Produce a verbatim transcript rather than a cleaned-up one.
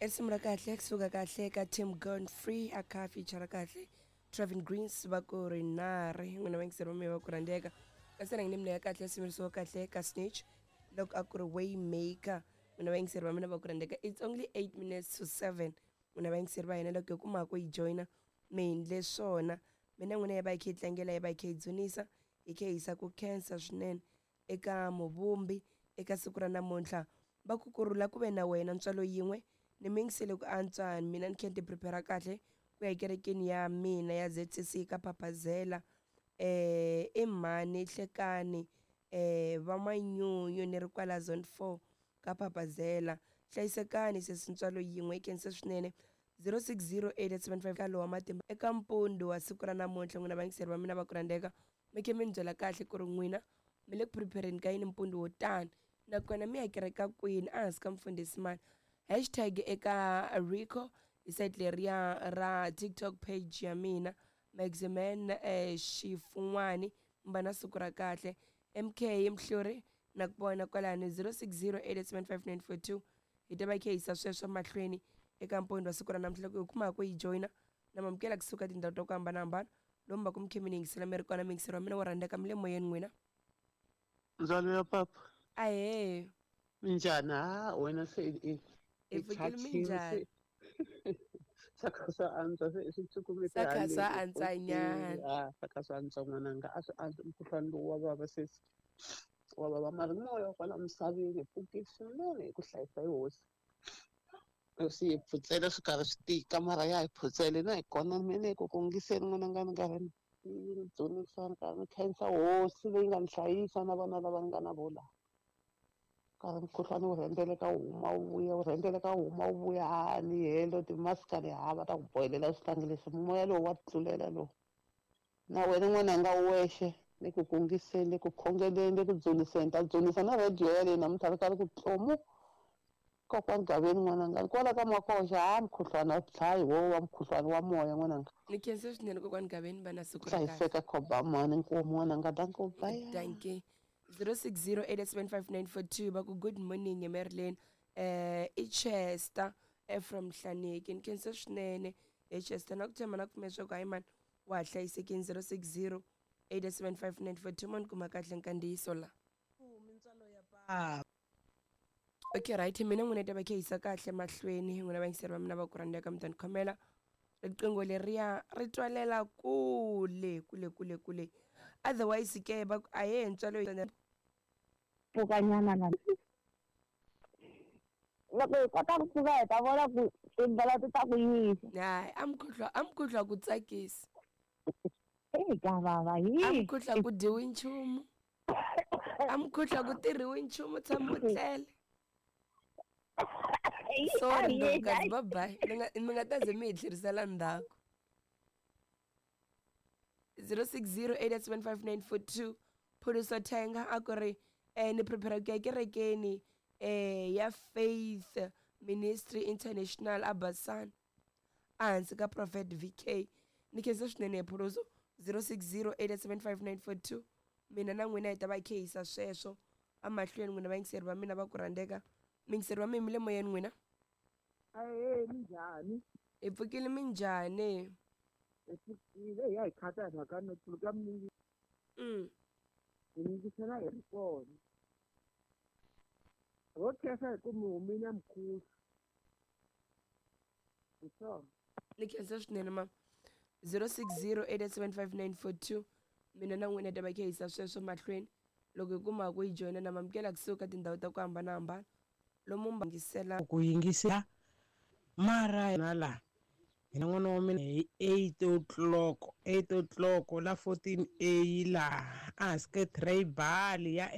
Risimu ra kahle kusuka kahle ka Tim Godfrey a kha feature kahle Travin Greens va ku ri nari n'wina vayingiseri va mina va ku rhandzeka kasi na ni ya kahle simirisiwa kahle ka Snitch loko a ku ri Waymaker n'wina vayingiseri va mina va ku rhandzeka. It's only eight minutes to seven n'wina vayingiseri va hina loko hi kuma ku yi joyina mi endle swona mina n'wina yi va yi kha yi tlangela yi va yi kha yi dzunisa hi kha hi yisa ku khensa swinene eka muvumbi eka siku ra namuntlha va ku kurhula ku ve na wena ntswalo yin'we ni mi yingisele ku antswa mina ni kha ni ti prepare kahle ku ya ekerekeni ya mina ya Z C C ka Phaphazela eh i mhani Hlekani eh va Manyunyu ni ri kwala zone four ka Phaphazela hlayisekani sesi ntswalo yin'we i khensa swinene zero six zero eight seven five ka lowa matimba eka mpundu wa siku ra namuntlha n'wina vayingiseri va mina va ku rhandzeka mi khe mi ni byela kahle ku ri n'wina mi le ku prepareni ka yini mpundzu wo tani nakona mi ya kereka kwini ehansi ka mfundhisi mani hashtag eka Rico hi site leriya ra TikTok page ya mina Maximan eh, Xifun'wani mi na siku ra kahle M K Mhluri na ku vona kwalani zero six zero eight seven five nine four two hi ta va kha yisa sweswo mahlweni eka mpundzu wa siku ra namuntlha loko hi kuma ku yi joyina na mamukela kusuka tindhawu ta ku hambanahambana lomu va ku mi khe mi ni yingisela mi ri kona miyingiseri wa mina wo rhandzeka mi le moyeni n'wina. Ndzwalo ya papa. Ahee. Minjhani? Ha wena se i hi i pfukile. chachile. Minjhani? Se swa kha swa antswa se swi cukumete Swa kha haleni swa antswanyana. A swa kha swa antswa n'wananga a swi antswa mukhuhlwani lowu wa vava sesi wa vava mara moya wa kwala misaveni hi pfukile swinene hi ku hlayisa hi hosi hosi hi phutsela swi karhi swi tika mara ya hi phutsele na hi kona mene ku kungiseni n'wananga ni karhi ni dzunisa ni karhi ni khensa hosi leyi nga ni hlayisa na vana lava ni nga na vo laha karhi mukhuhlwani wu rhendzeleka wu huma wu vuya wu rhendzeleka wu huma wu vuya ha ni helo timasika ni hava ta ku bohelela swihlangi leswi moya lowu wa tlulela lowu na wena n'wananga wu wexe le ku kungiseni le ku khongeleni le ku dzuniseni ta dzunisa na rhediyo yaleyo namuntlha ri karhi ku tlomu kokwani Gaveni n'wananga kwala ka Makoxa ha mukhuhlwani a dlayi wo wa mukhuhlwani wa moya n'wananga. Ni khensa swinene kokwani Gaveni va na siku ra kahle. Hlayiseka khobamani nkomu n'wananga danko bye. Dankie. zero six zero eight seven five nine four two va ku good morning Marilyn eh i Chester eh, from Hlaneki ni khensa swinene e Chester na ku tshemba na ku pfumela leswaku hayi mani wa ha hlayisekini zero six zero eight seven five nine four two mo ni kuma kahle nkandziyiso la. Mintswalo ya papa. Okay, right, mina n'wina ta va kha yisa kahle mahlweni n'wina vayingiseri va mina va ku rhandzeka mi ta ni khomela riqingho leriya ri twalela kule kule kule kule otherwise ke va ku ahee ntswalo. Pfukanyana na loko hi kota ku pfuka hi ta vona ku tindlela ti ta ku yisa. Hayi a mukhuhlwa a mukhuhlwa ku tsakisa. Eyi ka vava A hi mukhuhlwa ku dyiwi nchumu a mukhuhlwa ku tirhiwi nchumu tshama u tlele. Sorry Ndokazi, bye bye mi nga mi nga ta ze mi hi tlherisela ndzhaku zero six zero eight seven five nine four two Phuluso Thenga a ku ri eh ni prepare ku ya kerekeni eh ya Faith Ministry International Abasan ehansi ka Prophet V K ni khensa swinene Phuluso zero six zero eight seven five nine four two mina na n'wina hi ta va hi kha hi yisa sweswo emahlweni n'wina vayingiseri va mina va ku rhandzeka miyingiseri va mina mi le moyeni n'wina. Ahee minjhani? Hi pfukile minjhani? Hi pfukile hi ya hi khata hi mhaka no tsundzuka mi mm. hi yingisela hi ri kona ho khensa hi ku mi humile mukhuhlu hi swona. Ni khensa swinene ma zero six zero eight seven five nine four two mina na n'wina hi ta va kha hi yisa sweswo mahlweni loko hi kuma ku yi joyina na mamukela kusuka tindhawu ta ku hambanahambana lomu yingisela. Ku yingisela mara na la hina n'wana wa mina hi eight o'clock eight o'clock la fourteen A laha ehansi ka tribal ya